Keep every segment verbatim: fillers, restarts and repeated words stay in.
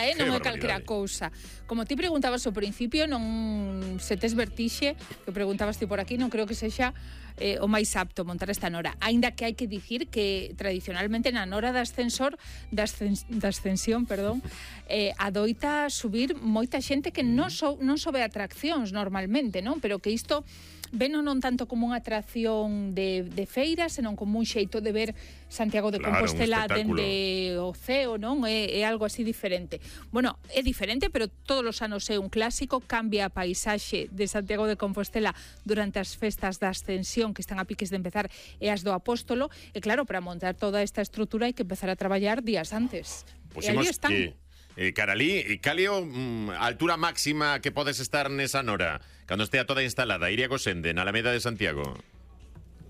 eh, non é calquera cousa. Como ti preguntabas ao principio, non se tes vertixe, que preguntabas ti por aquí, non creo que sexa eh, o máis apto montar esta nora. Aínda que hai que dicir que tradicionalmente na nora de ascensor, de, ascens, de ascensión, perdón, eh, adoita subir moita xente que non, so, non sobe atraccións normalmente, non? Pero que isto veno non tanto como unha atracción de, de feira, senón como un xeito de ver Santiago de claro, Compostela dende o ceo, non? É, é algo así diferente. Bueno, é diferente, pero todos os anos é un clásico, cambia a paisaxe de Santiago de Compostela durante as festas da Ascensión, que están a piques de empezar, e as do Apóstolo, e claro, para montar toda esta estrutura hai que empezar a traballar días antes. Pues e ali están. Que... Eh, Caralí, calio mm, a altura máxima que podes estar nesa nora cando estea toda instalada? Iria Gosende, na Alameda de Santiago.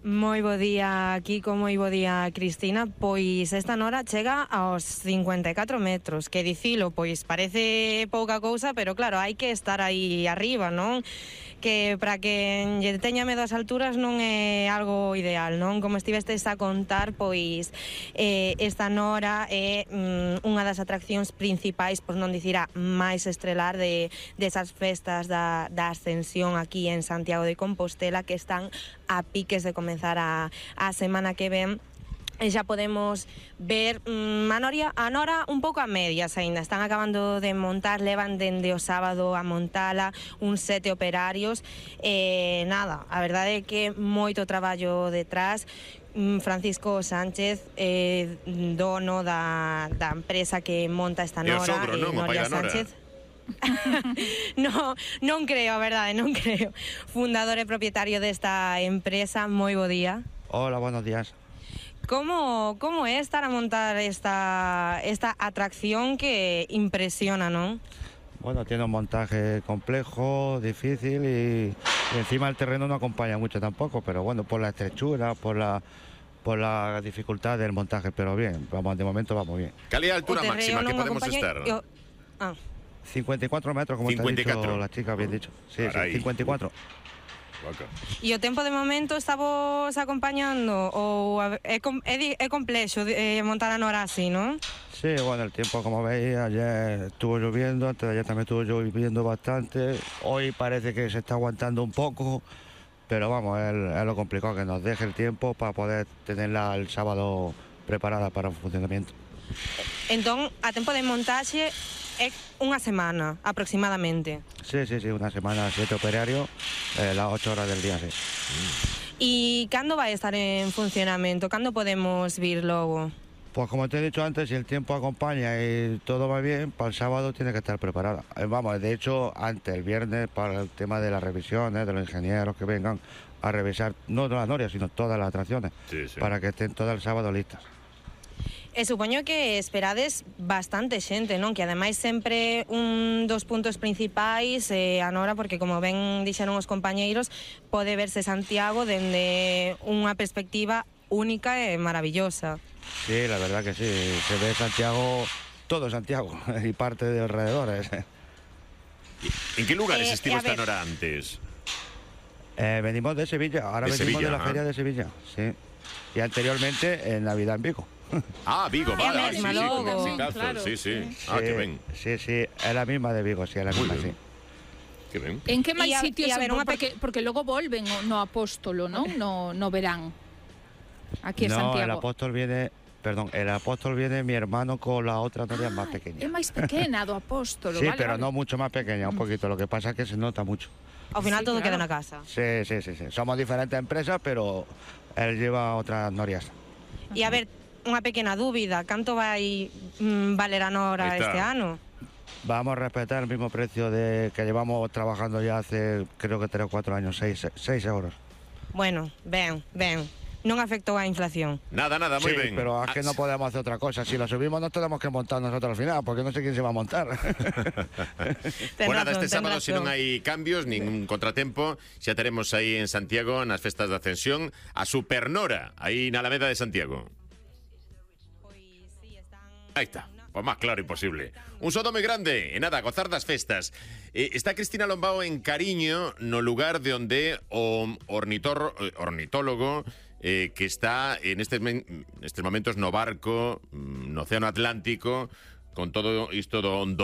Moi bo día, Kiko, moi bo día, Cristina. Pois esta nora chega aos cincuenta e catro metros, que dicilo, pois parece pouca cousa, pero claro, hai que estar aí arriba, non? Que para que lle teña medo ás alturas non é algo ideal, non? Como estivestes a contar, pois eh, esta nora é mm, unha das atraccións principais, por non dicir a máis estrelar de desas festas da, da Ascensión aquí en Santiago de Compostela, que están a piques de comenzar a, a semana que ven. E xa podemos ver mmm, a, noria, a nora un pouco a medias aínda. Están acabando de montar, levan dende o sábado a montala uns sete operarios. E nada, a verdade é que moito traballo detrás. Francisco Sánchez, eh, dono da, da empresa que monta esta nora, e o sogro, non? O pai da nora. Sánchez. no, non creo, a verdade, non creo. Fundador e propietario desta empresa, moi bo día. Hola, buenos días. Como, como é estar a montar esta, esta atracción que impresiona, non? Bueno, tiene un montaje complejo, difícil y, y encima el terreno no acompaña mucho tampoco, pero bueno, por la estrechura, por la por la dificultad del montaje, pero bien, vamos, de momento vamos bien. ¿Cuál es la altura máxima que podemos estar? Yo... Ah. cincuenta y cuatro metros, como cincuenta y cuatro. Te ha dicho la chica, bien dicho. Sí, sí, cincuenta y cuatro. E o tempo de momento estamos acompañando ou é, é, é complexo de, é montar a nora así, non? Sí, bueno, el tiempo, como veis, ayer estuvo lloviendo, antes de ayer también estuvo lloviendo bastante, hoy parece que se está aguantando un poco, pero vamos, es, es lo complicado, que nos deje el tiempo para poder tenerla el sábado preparada para o funcionamiento. Entón, a tempo de montaxe é unha semana, aproximadamente. Sí, sí, sí, una semana, siete operarios, eh, las ocho horas del día, sí. E cando vai estar en funcionamento? Cando podemos vir logo? Pues como te he dicho antes, si el tiempo acompaña y todo va bien, para el sábado tiene que estar preparada. Eh, vamos, de hecho, antes, el viernes, para el tema de las revisiones, de los ingenieros que vengan a revisar, no las norias, sino todas las atracciones, sí, sí. para que estén todo el sábado listas. E supoño que esperades bastante xente, non? Que ademais sempre un dos puntos principais é a nora, porque como ben dixeron os compañeiros, pode verse Santiago dende unha perspectiva única e maravillosa. Sí, la verdad que sí, se ve Santiago, todo Santiago y parte de alrededores. ¿En qué lugares eh, estuvo eh, esta nora antes? Eh, venimos de Sevilla, ahora de venimos Sevilla, de la ¿ah? feria de Sevilla, sí. Y anteriormente en Navidad en Vigo. Ah, Vigo, vale, é sí, mesma, sí, logo. con Mexicazo, Claro, sí, sí. sí. Ah, que ben. Sí, sí, es la misma de Vigo, sí, es la Muy misma, bien. sí. Que ben. En que máis E a- sitios? e a ver, unha porque, porque logo volven no Apóstolo, non? No, no verán. Aquí en No, Santiago. el apóstol viene, perdón, el apóstol viene mi hermano con la otra noria más É pequeña. máis pequena do Apóstolo, Sí, vale, pero vale. no mucho más pequeña, un poquito. Lo que pasa es que se nota mucho. Ao final Sí, todo claro. queda na casa. Sí, sí, sí, sí. Somos diferentes empresas, pero él lleva otras norias. E a ver, unha pequena dúbida, canto vai mm, valer a nora Ahí está. este ano? Vamos a respetar el mismo precio de que llevamos trabajando ya hace, creo que tres o cuatro años, seis, seis euros. Bueno, ben, ben. Non afectou a inflación. Nada, nada, muy Sí, bien. pero es que no podemos hacer otra cosa. Si lo subimos, nos tenemos que montar nosotros al final, porque no sé quién se va a montar. Ten Bueno, nada, razón, este ten sábado, se razón. non hai cambios, ningún contratempo, xa teremos aí en Santiago, nas festas de Ascensión, a Supernora, aí na Alameda de Santiago. Aí está. Pues más claro imposible. Un sodo moi grande, e nada, a gozar das festas. Eh, está Cristina Lombao en Cariño, no lugar de onde o ornitor, ornitólogo eh, que está en estes, men, estes momentos no barco, no Océano Atlántico, con todo isto do, do